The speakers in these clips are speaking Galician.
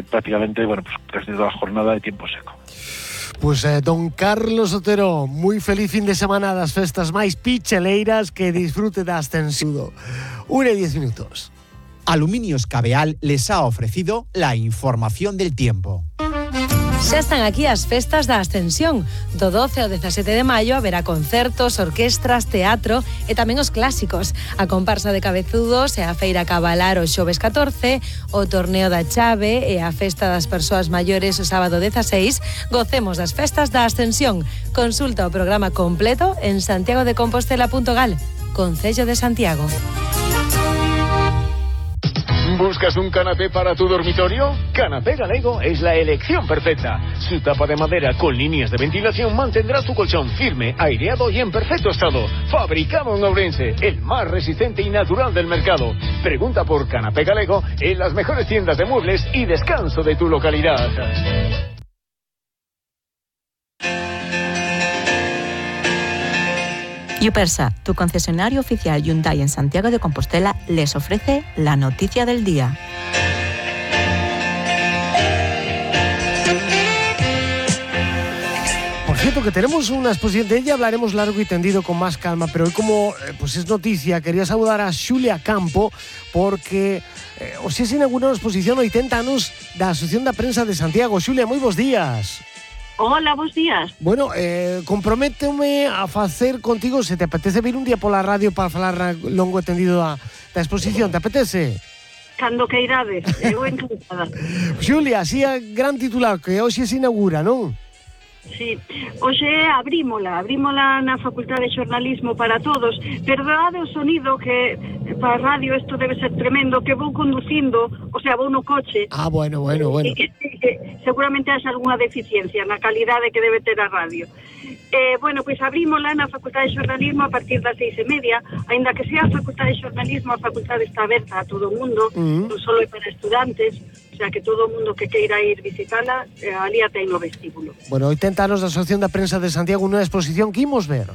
prácticamente, pues casi toda la jornada de tiempo seco. Pues don Carlos Otero, moi feliz fin de semana das festas máis picheleiras, que disfrute da Ascensión. 1:10. Aluminios Cabeal les ha ofrecido la información del tiempo. Xa están aquí as festas da Ascensión. Do 12 ao 17 de maio haberá concertos, orquestras, teatro e tamén os clásicos. A comparsa de cabezudos e a feira cabalar o xoves 14, o torneo da chave e a festa das persoas maiores o sábado 16. Gocemos das festas da Ascensión. Consulta o programa completo en santiagodecompostela.gal. Concello de Santiago. ¿Buscas un canapé para tu dormitorio? Canapé Galego es la elección perfecta. Su tapa de madera con líneas de ventilación mantendrá tu colchón firme, aireado y en perfecto estado. Fabricado en Ourense, el más resistente y natural del mercado. Pregunta por Canapé Galego en las mejores tiendas de muebles y descanso de tu localidad. Yupersa, tu concesionario oficial Hyundai en Santiago de Compostela, les ofrece la noticia del día. Por cierto, que tenemos una exposición de ella, hablaremos largo y tendido con más calma, pero hoy como pues es noticia, quería saludar a Xulia Campo, porque hoxe se inaugurou a exposición 80 anos da Asociación da Prensa de Santiago. Xulia, moi bons días. Hola, bons días. Bueno, comprométome a facer contigo, se te apetece vir un día pola radio para falar longo e tendido da exposición, te apetece? Cando queirades, eu encantada. Xulia, así a gran titular, que hoxe se inaugura, non? Sí, hoxe abrímola na Facultade de Xornalismo para todos. Perdade o sonido, que para a radio isto debe ser tremendo, que vou conducindo, o sea, vou no coche. Bueno. E que seguramente haxa algunha deficiencia na calidade que debe ter a radio. Bueno, pois abrímola na Facultade de Xornalismo a partir das 6:30, aínda que sea a Facultade de Xornalismo, a facultade está aberta a todo o mundo, non só é para estudantes, o sea, que todo o mundo que queira ir visitala, ali ten no vestíbulo. Bueno, 80 anos da Asociación da Prensa de Santiago, unha exposición que imos ver.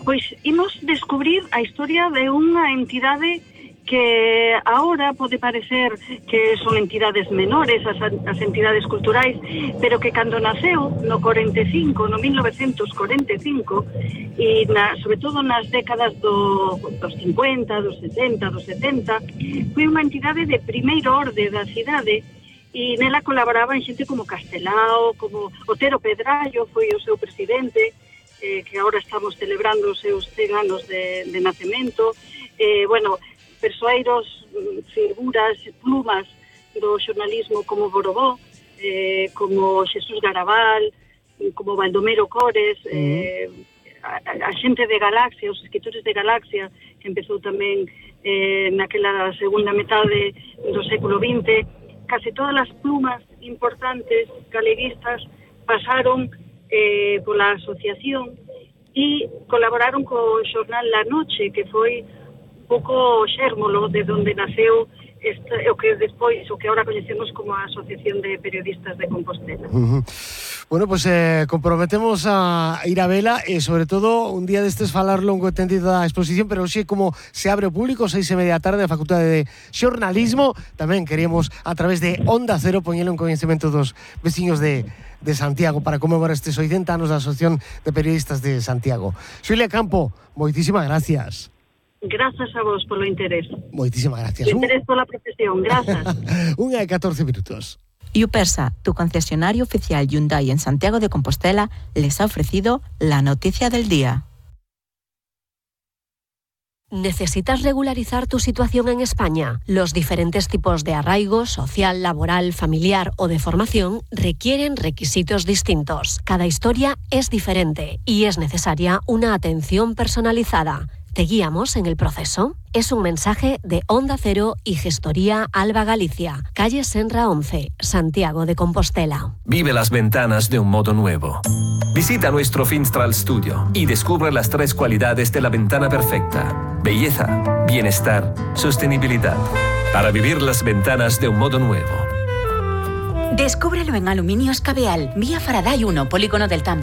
Pois imos descubrir a historia de unha entidade que ahora pode parecer que son entidades menores, as entidades culturais, pero que cando naceu no 45, no 1945, e sobre todo nas décadas dos 50, dos 60, dos 70, foi unha entidade de primeiro orde da cidade, e nela colaboraban xente como Castelao, como Otero Pedrallo, foi o seu presidente, que agora estamos celebrando os seus 100 anos de nacemento, bueno, persoeiros, figuras, plumas do xornalismo como Borobó, como Xesús Garabal, como Baldomero Cores, a xente de Galaxia, os escritores de Galaxia, que empezou tamén naquela segunda metade do século XX. Casi todas as plumas importantes galeguistas pasaron pola asociación e colaboraron co xornal La Noche, que foi pouco xérmolo de onde naceu o que despois, o que ahora coñecemos como a Asociación de Periodistas de Compostela. Bueno, pues comprometemos a ir a vela e sobre todo un día destes falar longo e tendido da exposición, pero hoxe como se abre o público 6:30 da tarde na Facultade de Xornalismo, tamén queríamos a través de Onda Cero poñelo en coñecemento dos veciños de Santiago para conmemorar estes 80 anos da Asociación de Periodistas de Santiago. Xulia Campo, moitísimas gracias. Grazas a vos polo interés. Moitísimas gracias. O interés pola profesión, grazas. 1:14. Yupersa, tu concesionario oficial Hyundai en Santiago de Compostela, les ha ofrecido la noticia del día. ¿Necesitas regularizar tu situación en España? Los diferentes tipos de arraigo, social, laboral, familiar o de formación requieren requisitos distintos. Cada historia es diferente y es necesaria una atención personalizada. ¿Te guiamos en el proceso? Es un mensaje de Onda Cero y Gestoría Alba Galicia, calle Senra 11, Santiago de Compostela. Vive las ventanas de un modo nuevo. Visita nuestro Finstral Studio y descubre las 3 cualidades de la ventana perfecta: belleza, bienestar, sostenibilidad. Para vivir las ventanas de un modo nuevo. Descúbrelo en Aluminios Cabeal, vía Faraday 1, Polígono del Tambre.